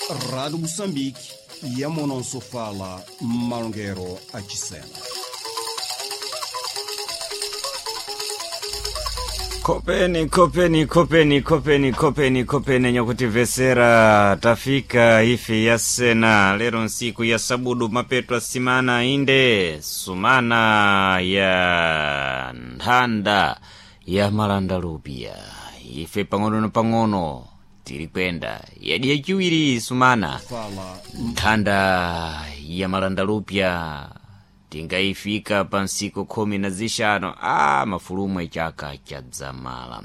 Rádio Moçambique, Yamonosofala, Malongero Achisena. Kopeni, kopeni, kopeni, kopeni, kopeni, kopeni nyakutivesera tafika ife yasena lero nsiku ya sabudu mapeto simana inde sumana ya nthanda ya malanda lupia ife pang'ono na pang'ono tiri kwenda yadi yachiwiri sumana Fala nthanda ya malanda lupya tingayifika pa nsiku 15 a mafulumu chaka chadzamala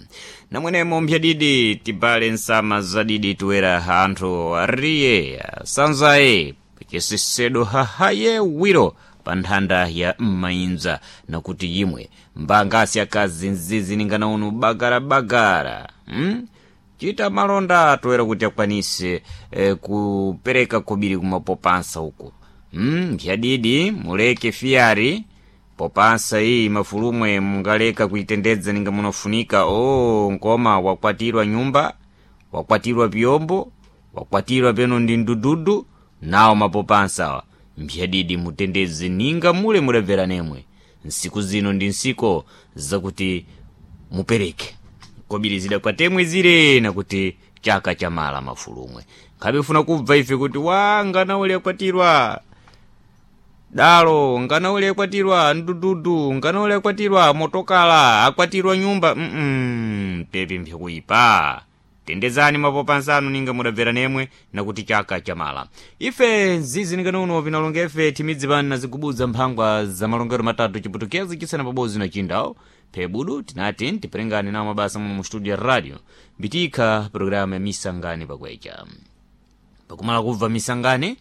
namwenemo mphyadidi tibale nsama zadidi tuwera anthu ariye sanzaye chisesedo hahaye wiro pa nthanda ya m'mayinza nakuti yimwe mbangasi akazi nzizi ningana unu bagarabagara Chita malonda toera kuti akwanise kupereka kobiri kumapopansa uku mphyadidi muleke fiyari popansa iyi mafulumwe mungaleka kuitendedza ninga munafunika o nkoma wakwatirwa nyumba wakwatirwa pyombo wakwatirwa peno ndi ndududu nawo mapopansawa mphyadidi mutendedze ninga mule mudabvera nemwe nsiku zino ndi nsiko zakuti mupereke kobiri zidakwatemwe zire nakuti chaka chamala mafulumwe nkhabe funa kubva ife kuti wa ngana ule akwatirwa dalo ngana ule akwatirwa ndududu ngana ule akwatirwa motokala akwatirwa nyumba pepi mpyakuipa tendezani mapopansanu ninga mudabvera nemwe nakuti chaka chamala ife nzizi ninganono vinalonga ife timidzi pano nazigubudza mphangwa za malongero matatu chiputukezi chisena pabodzi na chindawo phebudu tinati tiperengane nawo mabasa muno mu studio ya radio mbitikha programu ya misangani pakwecha pakumala kubva misangani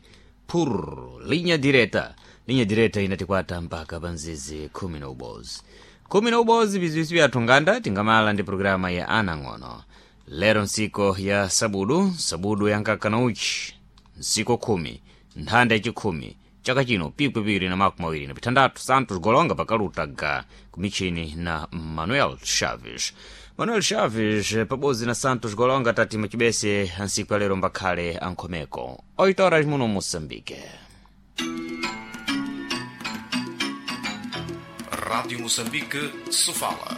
pur linya direta linya direta inatikwata mpaka panzizi 10 10 bizwisi byathu nganda tingamala ndi programa ya anang'ono lero nsiko ya sabudu sabudu yankaka na uchi nsiko 10 nthanda yachikhumi chaka chino pikwi na makumi awiri na pithandatu Santos Golonga pakaluta ga kumichini na Manuel Chaves. Manuel Chaves pabodzi na Santos Golonga tati machibese ansiku alero mbakhale ankhomeko 8 horas muno Moçambique. Rádio Moçambique, Sofala.